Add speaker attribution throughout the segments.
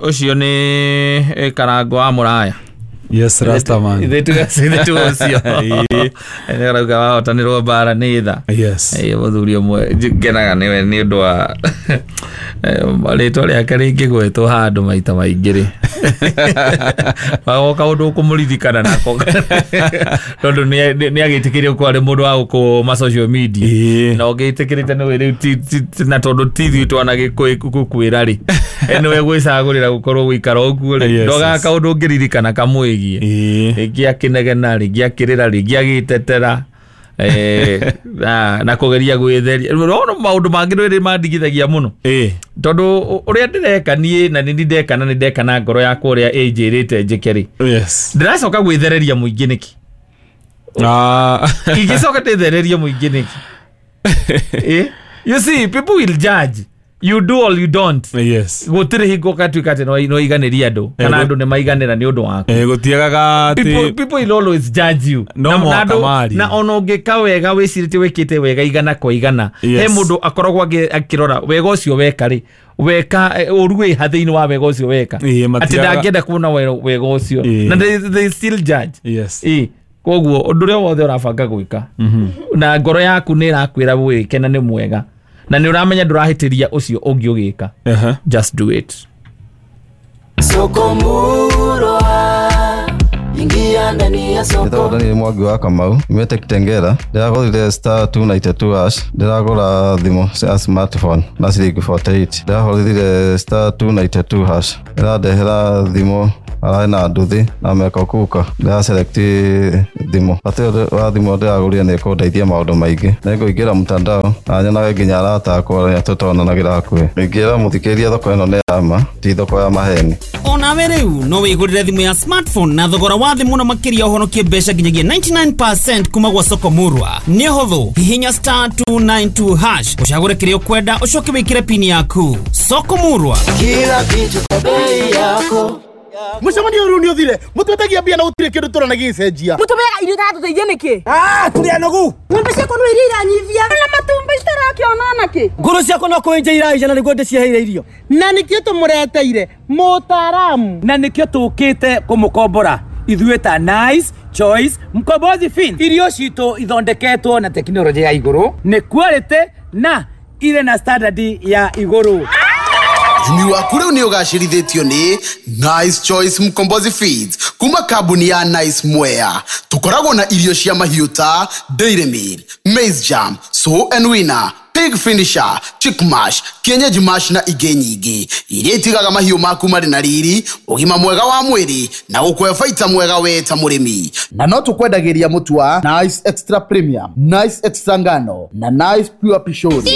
Speaker 1: Ũcio nĩ Karango wa Mũraya.
Speaker 2: Yes, Rastaman.
Speaker 1: Ithe tu ũcio. Nĩ arauga wahotanĩrwo mbara nĩ tha.
Speaker 2: Yes.
Speaker 1: Mũthuri ũmwe ngenaga nĩwe nĩ ũndũ wa rĩtwa rĩake rĩngĩgwetwo handũ maita maingĩ rĩ, wagoka ũndũ ũkũmũririkana nako, tondũ nĩ agĩtĩkĩrie gũkorwo arĩ mũndũ wa gũkũ ma social media. Na ũngĩtĩkĩrĩte nĩwe rĩu, na tondũ ti ithuĩ twanagĩkwĩra rĩ, nĩwe gwĩcagũrĩra gũkorwo gũikara ũguo rĩ, ndogaga kaũndũ ũngĩririkana kamwĩgiĩ. Rĩngĩ akĩnegena, rĩngĩ akĩrĩra, rĩngĩ agĩtetera, na kũgeria gwĩtheria. No maũndũ mangĩ nĩ mandigithagia mũno, tondũ ũrĩa ndĩreka niĩ na nĩ ndeka na nĩ ndeka na ngoro yakwa ũrĩa ĩnjĩrĩte njĩke rĩ, ndĩracoka gwĩthereria mũingĩ nĩkĩ? Ingĩcoka ndĩthererie mũingĩ nĩkĩ? You see, people will judge. You do or you don't.
Speaker 2: Yes.
Speaker 1: Gũtirĩ hingo ũgatuĩka atĩ no iganĩrie andũ, kana andũ nĩ maiganĩra nĩ ũndũ waku.
Speaker 2: Gũtiagaga atĩ
Speaker 1: people will always judge you.
Speaker 2: No mũhaka marie.
Speaker 1: Na ona ũngĩka wega wĩcirĩtie wĩkĩte wega igana kwa igana, he mũndũ akoragwo akĩrora wega ũcio weka rĩ, weka ũru wĩ ha thĩinĩ wa wega ũcio weka, atĩ ndangĩenda kuona wega ũcio, na they still judge.
Speaker 2: Yes.
Speaker 1: Koguo ũndũ ũrĩa wothe ũrabanga gwĩka na ngoro yaku nĩ ĩrakwĩra wĩke na nĩ mwega, na nĩ ũramenya ndũrahĩtĩria ũcio ũngĩ ũgĩka, just do it.
Speaker 3: Soko Murwa, ingia ndani ya soko.
Speaker 4: Ndĩragũra nĩ Mwangi wa Kamau, nyumĩte Kitengela. Ndĩragũrire *292# ndĩragũra thimũ cia smartphone na ciringi 48. Ndĩrahũrire *292# ĩrandehera thimũ ararĩ na nduthi na meko kuka. Ndĩra select thimũ. Bata ũyũ wa thimũ ndĩragũrire nĩ ĩkũndeithia maũndũ maingĩ. Nĩngũingĩra mtandao na nyonage nginya arata akwa arĩa tũtonanagĩra hakuhĩ. Ingĩra mũthikĩrĩria thoko ĩno nĩ ya ma, ti thoko ya maheni.
Speaker 5: Onawe rĩu no wĩgũrĩre thimũ ya smartphone na thogora wa thĩ mũno makĩria, ũhonokie mbeca nginyagia 99% kuma gwa Soko Murwa. Nĩ hũthũ, hihinya *292# ũcagũre kĩrĩa ũkwenda, ũcoke wĩkĩre pini yaku. Soko Murwa,
Speaker 3: kila kitu kwa bei yako.
Speaker 6: Mũcemanio ũrĩa nĩ ũthire, mũtwetagia mbia na gũtirĩ kĩndũ tũrona gĩgĩcenjia.
Speaker 7: Mũtũmeaga irio itatũteithia nĩkĩ?
Speaker 8: Tũrĩ anogu.
Speaker 7: Ng'ombe ciakwa no iria iranyivia na matumbĩ citarakĩona nakĩ.
Speaker 8: Ngũrũ ciakwa no kũenja iraija na nĩguo ndĩciheire irio.
Speaker 6: Na nĩkĩo tũmũreteire mũtaaramu.
Speaker 8: Na nĩkĩo tũkĩte kũmũkombora ithuĩ ta Nice Choice Mkombozi Fin. Irio citũ ithondeketwo na tekinoronjĩ ya igũrũ, nĩ quality na irĩ na standard ya igũrũ.
Speaker 9: Ũrĩmi waku rĩu nĩ ũgacĩrithĩtio nĩ Nice Choice Mkombozi Feeds kuma kambuni ya Nice Mwea. Tũkoragwo na irio cia mahiũ ta Dairy Meal, Maize Jam, Sow and Winner, Pig Finisher, Chick Mash, Kienyeji Mash na ingĩ nyingĩ iria itigaga mahiũ maku marĩ na riri, ũgima mwega wa mwĩrĩ na gũkũhe baita mwega we ta mũrĩmi.
Speaker 6: Na no tũkwendagĩria mũtu wa Nice Extra Premium, Nice Extra Ngano na Nice Pure Pishori.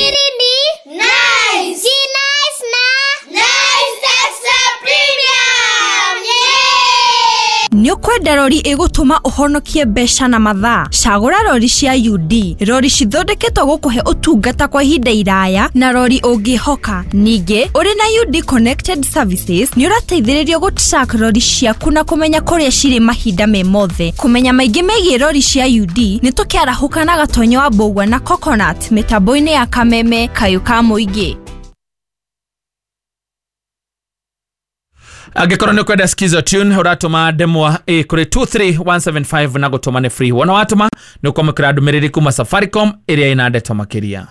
Speaker 10: Nĩ ũkwenda rori ĩgũtũma ũhonokie mbeca na mathaa? Cagũra rori cia UD, rori cithondeketwo gũkũhe ũtungata kwa ihinda iraya na rori ũngĩhoka. Ningĩ ũrĩ na UD Connected Services nĩ ũrateithĩrĩrio gũ-track rori ciaku na kũmenya kũrĩa cirĩ mahinda me mothe. Kũmenya maingĩ megiĩ rori cia UD nĩ tũkĩarahũka na Gatonyo wa Mbũgua na Coconut mĩtambo-inĩ ya Kameme Kayũ ka Mũingĩ.
Speaker 1: Angĩkorwo nĩ ũkwenda Skizo Tune, ũratũma ndemwa A kũrĩ 23175 na gũtũma nĩ free. Wona watũma nĩ ũkwamũkĩra ndũmĩrĩri kuma Safaricom ĩrĩa ĩna ndeto makĩria.